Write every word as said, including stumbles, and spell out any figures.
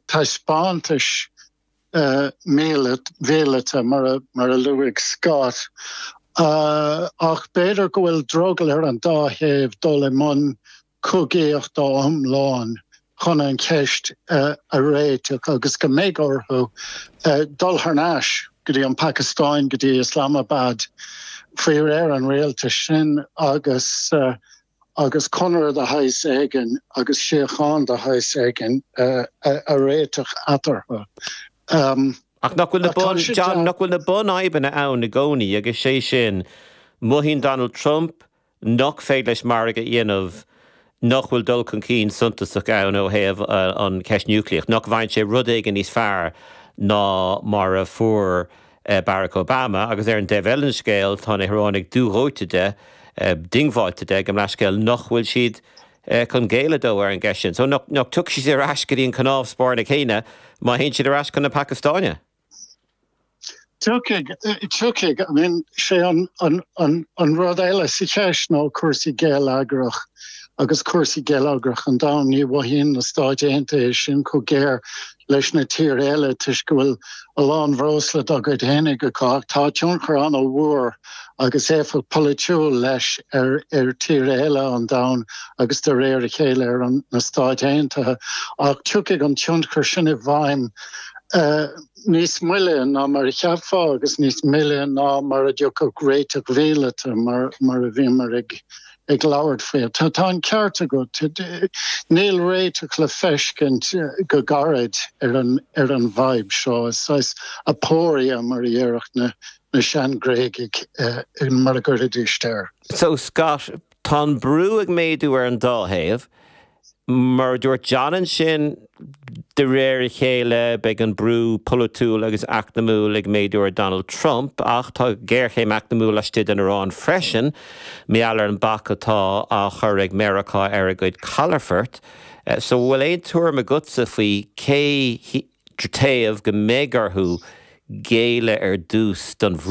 Taispeántais míleata mar a mar a luaigh Scott. Uh, ach b'fhéidir go bhfuil drogall ar an dá thaobh dul i mbun cogaíochta iomlán chun an cheist uh, a réiteach agus go mbeidh orthu uh, dul thar n-ais go dtí an Phacastáin go dtí Islamabad faoi réir an rialtais sin agus uh, agus conradh de shaghas éigin agus síocháin de shaghas éigin uh, a, a réiteach eatarthu. Um, Ach nach bhfuil na bun John nach bhfuil na bunfhadhbanna ann i gcónaí agus sé sin mothaíonn Donald Trump nach féidir leis margadh a dhéanamh nach bhfuil dul chun cinn suntasach ann ó thaobh an cheist núicléach, nach bhfaigheann sé rud éigin níos fearr ná mar a fuair Barack Obama agus ar an dtaobh eile den scéal tá na hIoránaigh dúdhóite de diongbháilte de go leiscéil nach bhfuil siad chun géilleadh dó ar an gceist sin. So nach dtiocfaidh siad ar ais go dtí an cnámh spairne céanna má théann siad ar ais chun na Pacastáine. Tiocfaidh tiocfaidh I mean sé an an an an rud eile sa cheist ná cúrsaí geilleagrach agus cúrsaí geilleagrach an domhain ní mhothaíonn na Stáit Aontaithe sin chomh géar leis na tíortha eile toisc go bhfuil a lán breosla dá gcuid féinig acu tá tionchar an-mhór agus éifeacht polaitiúil leis ar ar tíortha eile an domhain agus de réir a chéile ar an na Stáit Aontaithe ach tiocfaidh an tionchar sin i bhfeidhm uh, níos moille ná mar a cheapfá agus níos moille ná mar a dtiocfadh réiteach míleata mar mar a bhíomar ag ag labhairt faoi. Tá tá an ceart agat níl réiteach le feiscint go gairid ar an ar an bhfadhb seo is aporia mar a déarfadh na na sean-Ghréagaigh uh, mar a gcuiridís air. So Scott tá an brú ag méadú ar an dá thaobh, mar dúirt John ansin de réir a chéile beidh an brú polaitiúil agus eacnamúil ag méadú ar Donald Trump ach tá géarchéim eacnamúil laistigh den Iaráin freisin mar gheall ar an bac atá á chur ag Meiriceá ar a gcuid calafort. So bhfuil aon tuairim agatsa faoi cé taobh go mbeidh orthu géilleadh ar dtús don